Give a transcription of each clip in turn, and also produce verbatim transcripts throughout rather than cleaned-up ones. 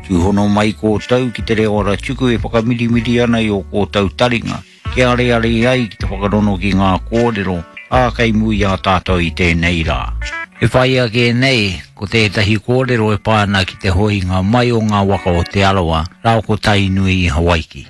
Tūhono mai kōtou ki te reo ara tuku e whakamirimiri ana i o kōtou taringa, ke are are ai ki te whakarono ki ngā kōrero, a kei mui a tātou i tēnei rā. E whai ake nei, ko tētahi kōrero e pāna ki te hoinga mai o ngā waka o Te Arawa, rao ko Tainui i Hawaiki.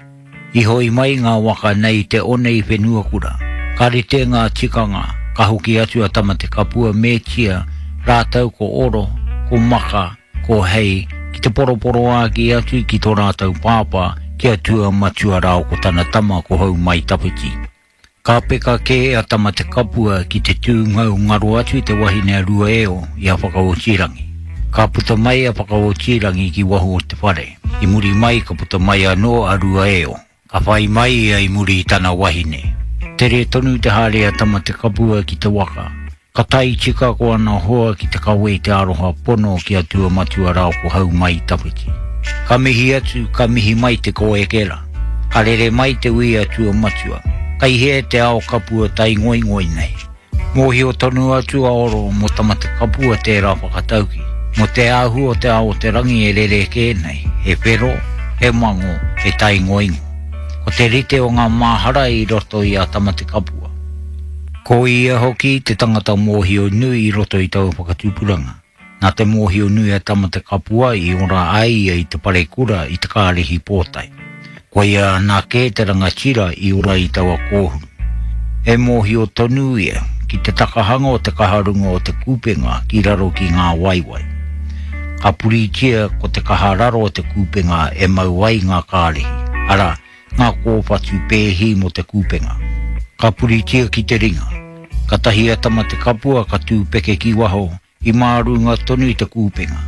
I hoi mai ngā waka nei te one i whenuakura. Ka rite ngā tikanga, ka hoki atu a Tamatekapua me Tia, rātou ko Oro, ko Maka, ko Hei, ki te poroporo āki atu ki tō rātou pāpā, ki a Tua Matua rao ko tana tama ko Hau Mai Tawhiti. Ka peka kē a Tamatekapua ki te tūngau ngaro atu i te wahine a Ruaeo i a Whakaotirangi. Ka puta mai a Whakaotirangi ki waho o te whare. I muri mai ka puta mai anō a Ruaeo. Ka whai mai ia i muri i tana wahine. Tere tonu te haere a Tamatekapua ki te waka. Ka tai tika ko ana hoa ki te kawe i te aroha pono ki a Tua Matua rao ko Hau Mai Tawhiti. Ka mihi atu, ka mihi mai te koekera. Ka rere mai te ui a Tua Matua. Kai hea te ao kapua tai ngoi nei. Mōhio tonu atu a Oro mō Tamatekapua tērā whakatauki. Mō te ahu o te ao o te rangi e rere kē nei. He whero, he mango, he tai ngoingo. Ko te rite o ngā māhara i roto i a Tamatekapua. Ko ia hoki te tangata mōhio nui i roto i taua whakatupuranga. Nā te mōhio nui a Tamatekapua i ora ai ia i te parekura i te kārihi pōtai. Ko ia anake te rangatira i ora i taua kōhuru. E mōhio tonu ia ki te takahanga o te kaharunga o te kūpenga ki raro ki ngā waiwai. Ka puritia ko te kahararo o te kūpenga e mau ai ngā kārihi, ara, ngā kōwhatu pēhi mō te kūpenga. Ka puritia ki te ringa. Ka tahi a Tamatekapua ka tūpeke ki waho, i mārunga tonu i te kūpenga.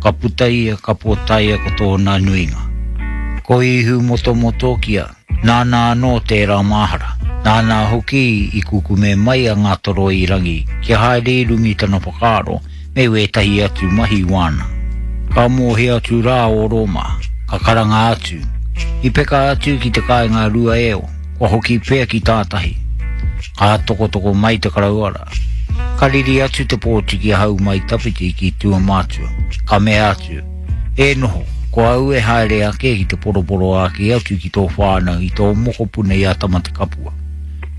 Ka puta ia, ka pōtaia ko tōna nuinga. Ko Ihu motomotokia, nāna anō tērā māhara. Nāna hoki i kukume mai a Ngātoroirangi kia haere i runga i tana whakaaro me wētahi atu mahi wāna. Ka mōhio atu rā o Roma, ka karanga atu. I peka atu ki te kāinga Ruaeo, kua hoki pea ki tātahi. Ka tokotoko mai te karauara. Ka riri atu te pōtiki a Hau Mai Tawhiti ki Tua Matua. Ka mea atu, e noho, ko au e haere ake ki te poroporo ake atu ki tō whānau i tō mokopuna i a Tamatekapua.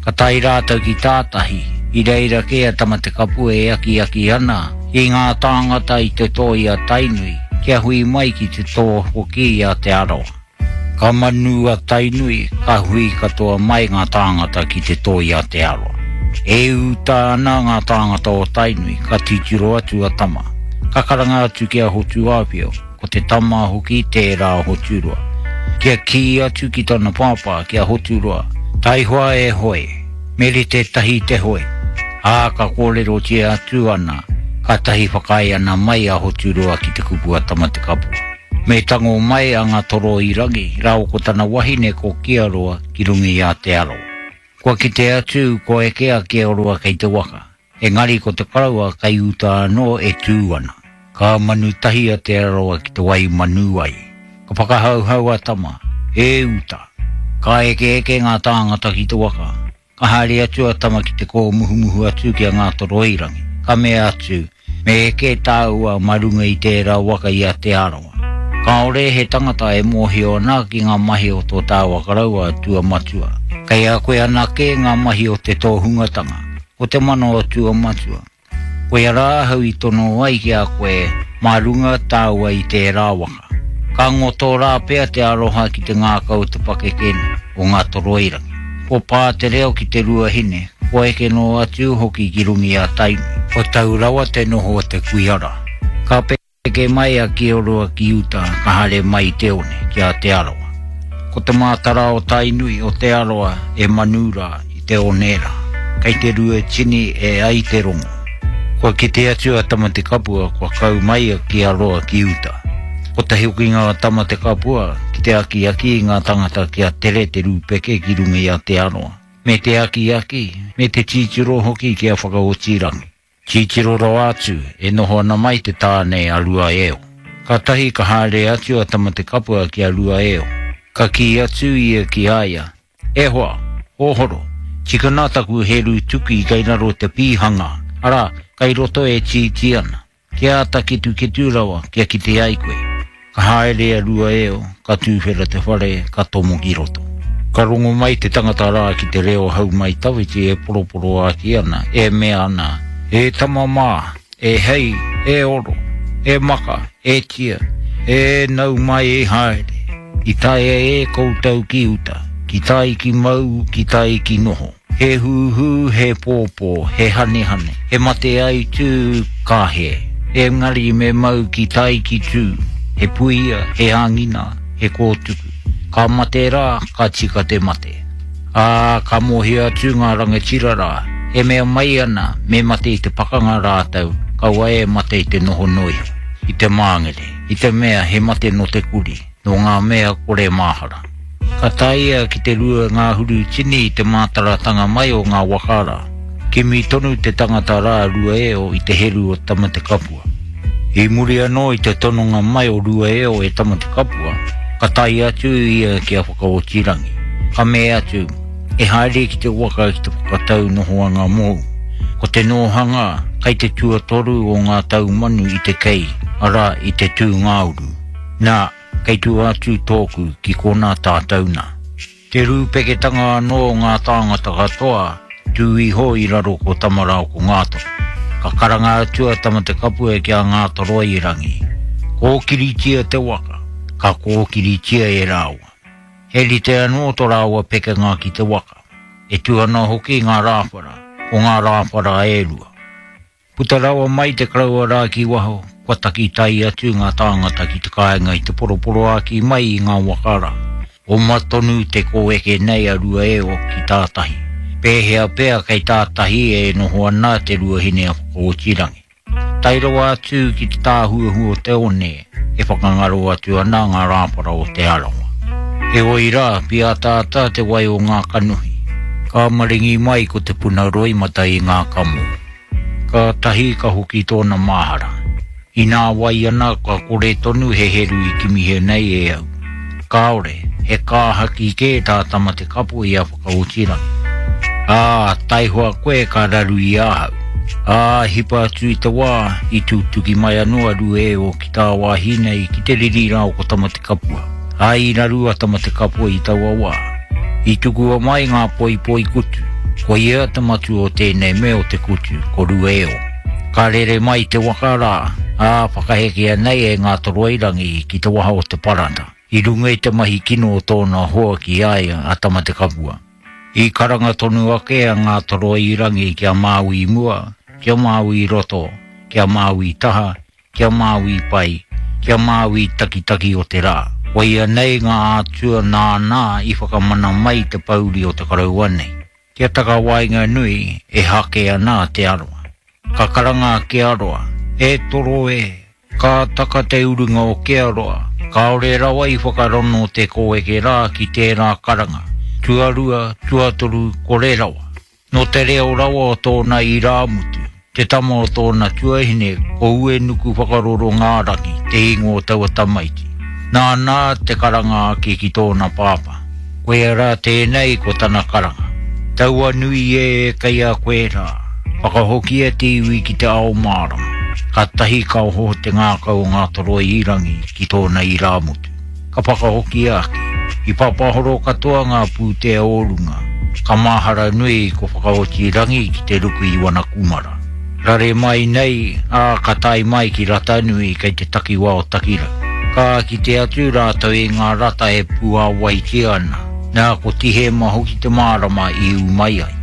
Ka tae rātou ki tātahi, i reira kē a Tamatekapua e aki aki ana i ngā tāngata i te tō i a Tainui, kia hui mai ki te tō hoki i a Te Arawa. Ka manu a Tainui, ka hui katoa mai ngā tāngata ki te tō i a Te Arawa. E uta ana ngā tāngata o Tainui, ka titiro atu a Tama. Ka karanga atu ki a Hotuāwhio, ko te tama hoki tērā Hoturoa. Kia kī atu ki tana pāpā ki a Hoturoa, taihoa e hoe, me rite tahi te hoe. Ā, ka kōrerotia atu ana, ka tahi whakaae ana mai a Hoturoa ki te kupu a Tamatekapua. Me tango mai a Ngātoroirangi, rāua ko tana wahine ko Kiaroa ki runga i a Te Arawa. Kua kite atu ko eke a Kiaroa kei te waka, engari ko te karaua kei uta anō e tū ana. Ka manu tahi a Te Arawa ki te wai manu ai. Ka whakahauhau a Tama, e uta. Ka eke eke ngā tāngata ki te waka. Ka haere atu a Tama ki te kōmuhumuhu atu ki a Ngātoroirangi. Ka mea atu, me eke tāua mā runga i tērā waka i a Te Arawa. Kāore he tangata e mōhio ana ki ngā mahi o tō tāua karaua Tua Matua. Kei a koe anake ngā mahi o te tōhungatanga, ko te mana o Tua Matua. Koia rā ahau i tono ai ki a koe mā runga tāua i tērā waka. Ka ngoto rā pea te aroha ki te ngākau o te pakeke nei, o Ngātoroirangi. Ko pā te reo ki te ruahine, ko eke noa atu hoki ki runga i a Tainui. Ko tau rawa te noho o te kuiara. Ka peke mai a Kioroa ki uta, ka haere mai te one, ki a Te Arawa. Ko te mātara o Tainui o Te Arawa e manu rā i te one rā. Kei te rua tini e ai te rongo. Kua kite atu a Tamatekapua kua kau mai a Kiaroa ki uta. Ko te hokinga o Tamatekapua ki te akiaki i ngā tangata kia tere te rūpeke ki runga i a Te Arawa. Me te akiaki, me te titiro hoki ki a Whakaotirangi. Titiro rawa atu, e noho ana mai te tāne a Ruaeo. Ka tahi ka haere atu a Tamatekapua ki a Ruaeo. Ka kī atu ia ki a ia, e hoa, hohoro, tikana taku heru tuki kei raro te pīhanga, ara, kei roto e tītī ana. Kia āta ketuketu rawa, kia kite ai koe. Ka haere a Rua-eo, ka tūwhera te whare, ka tomo ki roto. Ka rongo mai te tangata rā ki te reo hau mai tawhiti e poroporo āki ana, e mea ana, e tama mā, e hei, e oro, e maka, e tia, e nau mai e haere. I taea e koutou ki uta, ki tai ki mau, ki tai ki noho. He huhu, he pōpō, he hanehane, he mate ai tū, ka he. Engari me mau ki tai ki tū, he puia, he angina, he kōtuku. Ka mate rā, ka tika te mate. Ā, ka mohi atu ngā rangatira rā, e mea mai ana, me mate i te pakanga rātou, kaua e mate i te noho noiho, i te māngere, i te mea he mate no te kuri, no ngā mea kore māhara. Ka taia ki te rua ngā huru tini i te mātaratanga mai o ngā waka rā. Kimi tonu te tangata rā Rua-eo i te heru o Tamatekapua. I muri anō i te tononga mai o Rua-eo e Tamatekapua, ka tae atu ia ki a Whakaotirangi. Ka mea atu, e haere ki te waka ki te whakatau nohoanga mōu. Ko te nohanga kai te tuatoru o ngā taumanu i te kei, ara i te tūngāuru. Nā, kei tua atu tōku ki kona tātou nā. Te rūpeketanga anō o ngā tāngata katoa, tū iho i raro ko Tamarao ko Ngātoro. Ka karanga atu a Tamatekapua ki a Ngātoroirangi. Kōkiritia te waka, ka kōkiritia e rāua. He rite anō tō rāua pekenga ki te waka. E tū ana hoki ngā rāwhara, ko ngā rāwhara e rua. Puta rawa mai te karaua rā ki waho, kua taki tai atu ngā tāngata ki te kāinga i te poroporoāki mai i ngā waka rā. Oma tonu te kōeke nei a Rua-eo ki tātahi. Pēhea pea kei tātahi e noho ana te ruahine a Whakaotirangi. Tai rawa atu ki te tāhuahu o te one, e whakangaro atu ana ngā rāwhara o te Arawa. Heoi rā, piataata te wai o ngā kanohi. Ka maringi mai ko te puna roimata i ngā kamo. Ka tahi ka hoki tōna māhara. Inā wai ana ka kore tonu he heru i kimihia nei e au. Kāore, he kāhaki kē tā Tamatekapua i a Whakaotirangi. Ā, taihoa koe ka raru i ahau. Ā, hipa atu i te wā, i tūtuki mai anō a Rua-eo ki tāwāhi nei ki te riri rā o ko Tamatekapua. Ā, i raru a Tamatekapua i taua wā. I tukua mai ngā poipoi kutu. Ko ia te matua o tēnei mea o te kutu, ko Rua-eo. Ka rere mai te waka rā, ā, whakahekea nei e Ngātoroirangi ki te waha o te parata. I runga i te mahi kino o tōna hoa ki a ia a Tamatekapua. I karanga tonu ake a Ngātoroirangi ki a Māui mua, ki a Māui roto, ki a Māui taha, ki a Māui pai, ki a Māui takitaki o te rā. Koia nei ngā atua nāna i whakamana mai te pauri o te karaua nei. Kia takawaenga nui e hake ana te aroa. Ka karanga a Kearoa, e toro e, ka taka te urunga o Kearoa, kāore rawa i whakarono te kōeke rā ki tērā karanga. Tuarua, tuatoru, kore rawa. No te reo rawa o tōna irāmutu, te tama o tōna tuahine, ko Uenuku whakaroro ngā rangi, te ingoa o taua tamaiti. Nāna te karanga ake ki tōna pāpā. Koia rā tēnei ko tana karanga. Taua nui e kei a koe rā, whakahokia te iwi ki te ao mārama. Ka tahi ka oho te ngākau o Ngātoroirangi ki tōna irāmutu. Ka whakahokia ake, i papahoro katoa ngā pūtea o runga, ka māhara nui ko Whakaotirangi ki te ruku i wana kumara. Rare mai nei, ā, ka tae mai ki Ratanui kei te takiwā o Takirau. Ka kite atu rātou i ngā rata e puāwaitia ana, nā ko Tihema hoki te mārama i ū mai ai.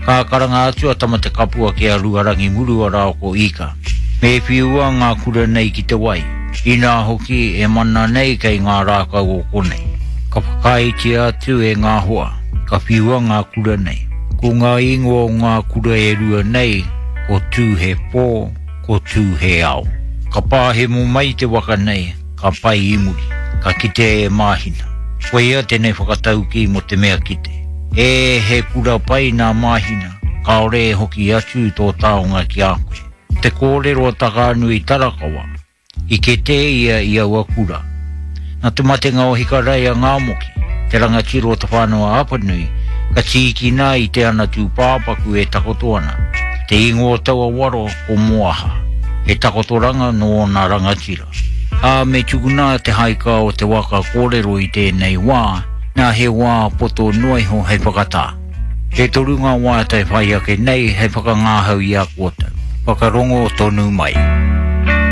Ka karanga atu a Tamatekapua ki a Ruarangi Murua rā ko Ika. Me whiua ngā kura nei ki te wai, inā hoki e mana nei kei ngā rākau o konei. Ka whakaaetia atu e ngā hoa, ka whiua ngā kura nei. Ko ngā ingoa o ngā kura e rua nei, ko Tū he pō, ko Tū he ao. Ka pāhemo mai te waka nei, ka pai i muri, ka kitea e Māhina. Koia tēnei whakatauki mō te mea kite. E he kura pai nā Māhina, kāore e hoki atu tō taonga ki a koe. Te kōrero a Takaanui Tarakawa, i kete ia i aua kura. Nā te matenga o Hikarai a Ngāmoki, te rangatira o te whānau a Apanui, ka tīkina i te ana tūpāpaku e takoto ana. Te ingoa o taua waro ko Moaha, he takotoranga nō ōna rangatira. Ā me tukuna te haika o te waka kōrero i tēnei wā, nā he wā poto noa iho hei whakatā. E toru ngā wā te whai ake nei hei whakangāhau i a koutou. Whakarongo tonu mai.